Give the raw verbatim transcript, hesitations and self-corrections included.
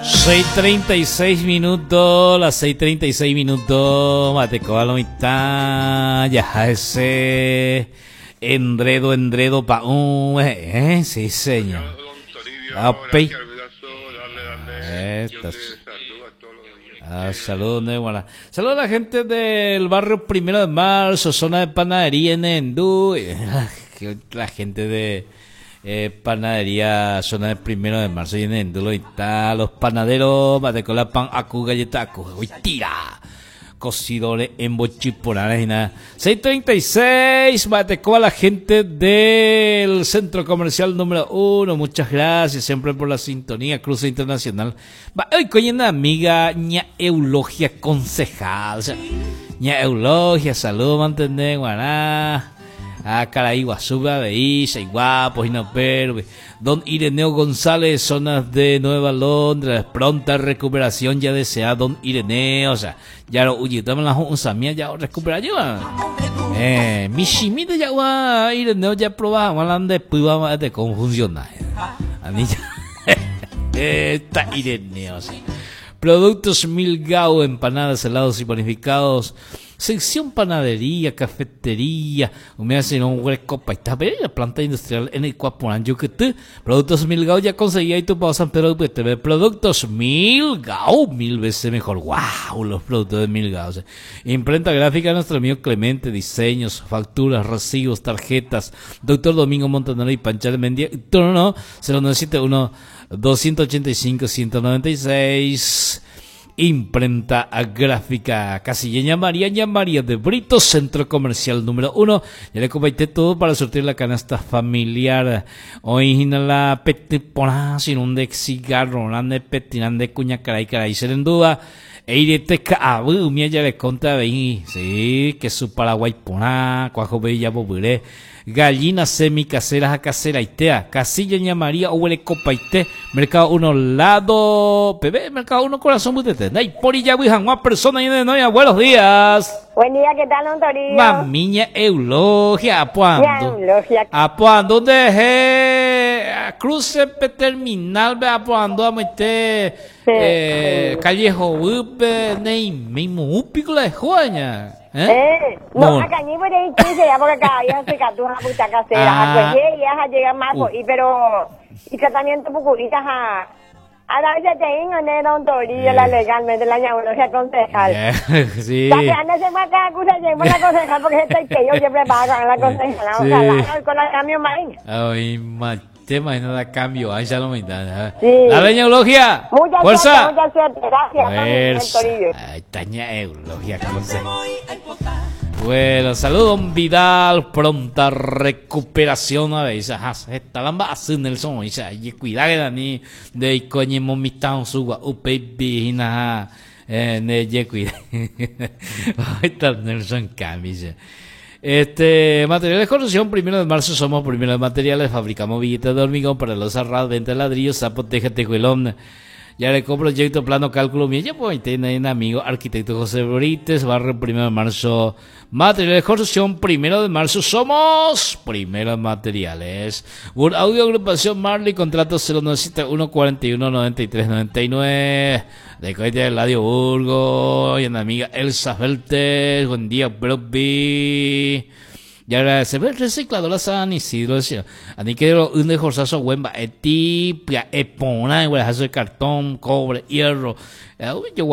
Seis treinta y seis minutos, las seis treinta y seis minutos, mateco a lo mitad, ya ese endredo, endredo pa un, eh, sí, señor. Ah, Estas. Ah, saludos, de Saludos a la gente del barrio Primero de Marzo, zona de panadería en Endú. La gente de eh, panadería, zona de Primero de Marzo y en Endú, y tal. Los panaderos, con pan, acu, galleta, acu, uy, tira. Cocidores en Bochiporales y nada. seis treinta y seis, Mateco a la gente del Centro Comercial número uno. Muchas gracias siempre por la sintonía. Cruce Internacional. Va, hoy coño, una amiga, ña Eulogia Concejal. O sea, ña Eulogia, saludos, mantener, guaná. Ah, caray, Guasuba, veis, guapos y no pero. Don Ireneo González, zonas de Nueva Londres, pronta recuperación ya desea don Ireneo, o sea, ya lo huyitamos la usamia ya recupera yo. Eh, michimite ya wa Ireneo ya probaba, de puiba de cómo funciona. A mí ya está Ireneo, sí. Productos Milgao, empanadas, helados y panificados. Sección panadería, cafetería, me hacen un hueco está la planta industrial en el Cuaporán, Yucatán. Productos Milgao ya conseguía y tu pausa San Pedro T V. Productos Milgao, mil veces mejor. ¡Wow! Los productos de Milgao. Imprenta gráfica, nuestro amigo Clemente, diseños, facturas, recibos, tarjetas. Doctor Domingo Montanaro y Panchal Mendia. No, no, cero nueve siete uno doscientos ochenta y cinco ciento noventa y seis. Imprenta gráfica Casilleña María Ña María de Brito, Centro Comercial número uno. Ya le compartí todo para surtir la canasta familiar. Hoy la pete sin un de cigarro, de petinan de cuña caray caray duda. Eirete ka'avy umi ajarekonte avei, sí, que su Paraguay porã, kuajo bella bobyre, gallinas semicaseras a caseraitea, Casilla Ña María, oguerekopaite, Mercado uno lado, P B, Mercado uno corazón mbytete, ndaipóri hag̃ua persona y de novia, buenos días. Buen día, ¿qué tal, don Toribio? Mamiña Eulogia, apoando. Eulogia. Apoando, ¿dónde cruce terminal, ve apoando a meter eh, calle Jobupe, nei mismo upico la de Juaña. ¿Eh? Eh, no, acá ni por ahí quince ya porque cada día se catuja puta casera, ah, ya llega más, uh. y pero y tratamiento pucurita ja. Ahora ya tengo ne don Toribio la legalmente la neurología concejal. Yeah, sí. Ya que anda se acá acusa llevo la concejal porque estoy que yo siempre pago con la concejal. Sí. Ojalá con la cambio más. Ay, tema y no da cambio, ahí ya lo me da. Sí. La Eulogia. Mucha fuerza. Suerte, mucha suerte. Gracias. Fuerza. Ay, Taña Eulogia. Bueno, saludos, don Vidal, pronta recuperación a veces. Esta lamba hace Nelson, y cuidado que ni de coño momitán suba upebi na eh ne cuida. Ahí está Nelson Camilla. Este, materiales de construcción, Primero de Marzo somos primero de materiales, fabricamos billetes de hormigón para los cerrados, venta de ladrillos, zapo, teja, tejuelón. Ya le compro proyecto, plano, cálculo mío. Ya pues tener un amigo, arquitecto José Brites, barrio Primero de Marzo. Materiales de construcción, Primero de Marzo somos primero materiales. Audio Agrupación Marley, contrato cero nueve siete uno cuarenta y uno noventa y tres noventa y nueve. De Coite del Radio Burgo y una amiga Elsa Feltes. Buen día, Broby. Y agradecer recicladora San Isidro. Ani que un de jorzazo buen etipia, epona, de cartón, cobre, hierro. Yo